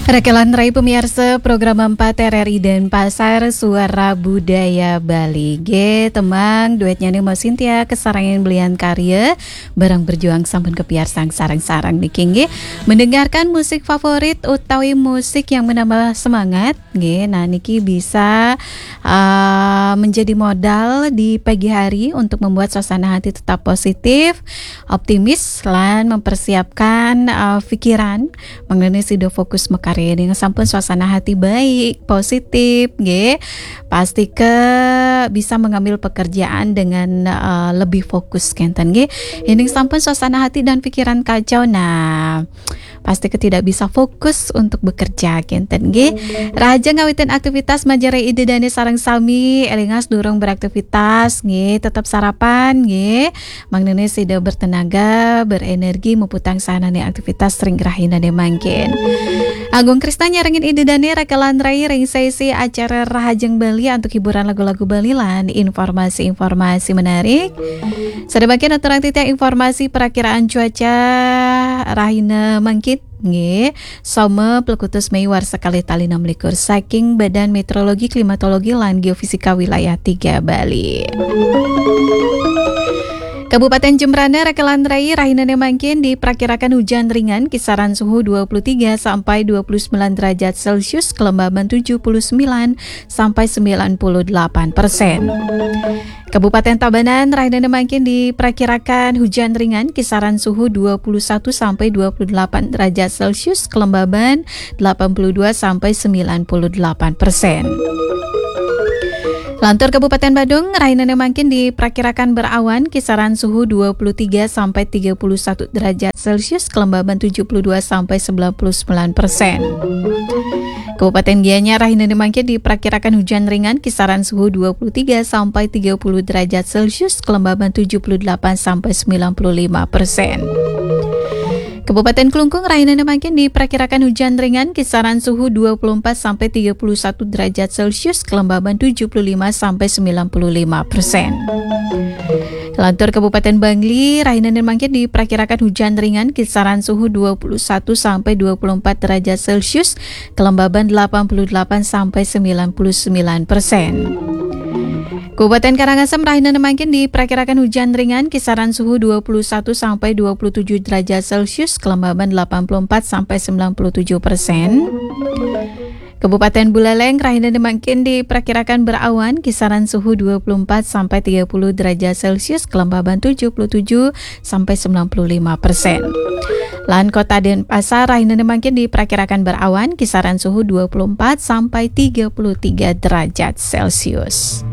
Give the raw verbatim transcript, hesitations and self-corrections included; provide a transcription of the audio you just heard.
Rakelan rai pemirsa program empat R R I Denpasar, Suara Budaya Bali. Nggih, tembang duetnya nih Mas Sintia, kesarangan belian karya, bareng berjuang sampun kepiarsang sareng-sareng niki nggih. Mendengarkan musik favorit utawi musik yang menambah semangat, nggih. Nah, niki bisa, eh, menjadi modal di pagi hari untuk membuat suasana hati tetap positif, optimis, lan mempersiapkan, eh, pikiran mengenai sida fokus makarya. Ning sampun suasana hati baik, positif, nggih. Pasti ke bisa mengambil pekerjaan dengan, eh, lebih fokus kenten nggih. Ning sampun suasana hati dan pikiran kacau, nah, pasti ke tidak bisa fokus untuk bekerja kenten nggih. Raja ngawitin aktivitas manjari ide dane sareng sami, elingas durung beraktivitas nggih, tetap sarapan nggih. Mangnene sida bertenaga, berenergi, muputang sahnane aktivitas ring rahinane mangkin. Agung Krisna nyarengin ide dane rakelan rai ring sesi acara Rahajeng Bali antuk hiburan lagu-lagu Bali lan informasi-informasi menarik. Sadamangkin aturang titiang informasi perakiraan cuaca rahina mangkin. Nggih, Soma plekutus Mei warsa kalih tali enam likur saking Badan Meteorologi, Klimatologi, lan Geofisika Wilayah tiga Bali. Kabupaten Jembrana rakelan rai rahinane mangkin diperkirakan hujan ringan, kisaran suhu dua puluh tiga sampai dua puluh sembilan derajat Celcius, kelembaban tujuh puluh sembilan sampai sembilan puluh delapan persen. Kabupaten Tabanan rahinane mangkin diperkirakan hujan ringan, kisaran suhu dua puluh satu sampai dua puluh delapan derajat Celcius, kelembaban delapan puluh dua sampai sembilan puluh delapan persen. Lantur Kabupaten Badung rahinane mangkin diperkirakan berawan, kisaran suhu dua puluh tiga sampai tiga puluh satu derajat Celcius, kelembaban tujuh puluh dua sampai sembilan puluh sembilan persen. Kabupaten Gianyar rahinane mangkin diperkirakan hujan ringan, kisaran suhu dua puluh tiga sampai tiga puluh derajat Celcius, kelembaban tujuh puluh delapan sampai sembilan puluh lima persen. Kabupaten Klungkung rahinane mangkin diperkirakan hujan ringan, kisaran suhu dua puluh empat sampai tiga puluh satu derajat Celcius, kelembaban tujuh puluh lima sampai sembilan puluh lima persen. Lantur Kabupaten Bangli rahinane mangkin diperkirakan hujan ringan, kisaran suhu dua puluh satu sampai dua puluh empat derajat Celcius, kelembaban delapan puluh delapan sampai sembilan puluh sembilan persen. Kabupaten Karangasem rahinane mangkin diperkirakan hujan ringan, kisaran suhu dua puluh satu sampai dua puluh tujuh derajat Celcius, kelembaban delapan puluh empat sampai sembilan puluh tujuh persen. Kabupaten Buleleng rahinane mangkin diperkirakan berawan, kisaran suhu dua puluh empat sampai tiga puluh derajat Celcius, kelembaban tujuh puluh tujuh sampai sembilan puluh lima persen. Lan Kota Denpasar rahinane mangkin diperkirakan berawan, kisaran suhu dua puluh empat sampai tiga puluh tiga derajat Celcius.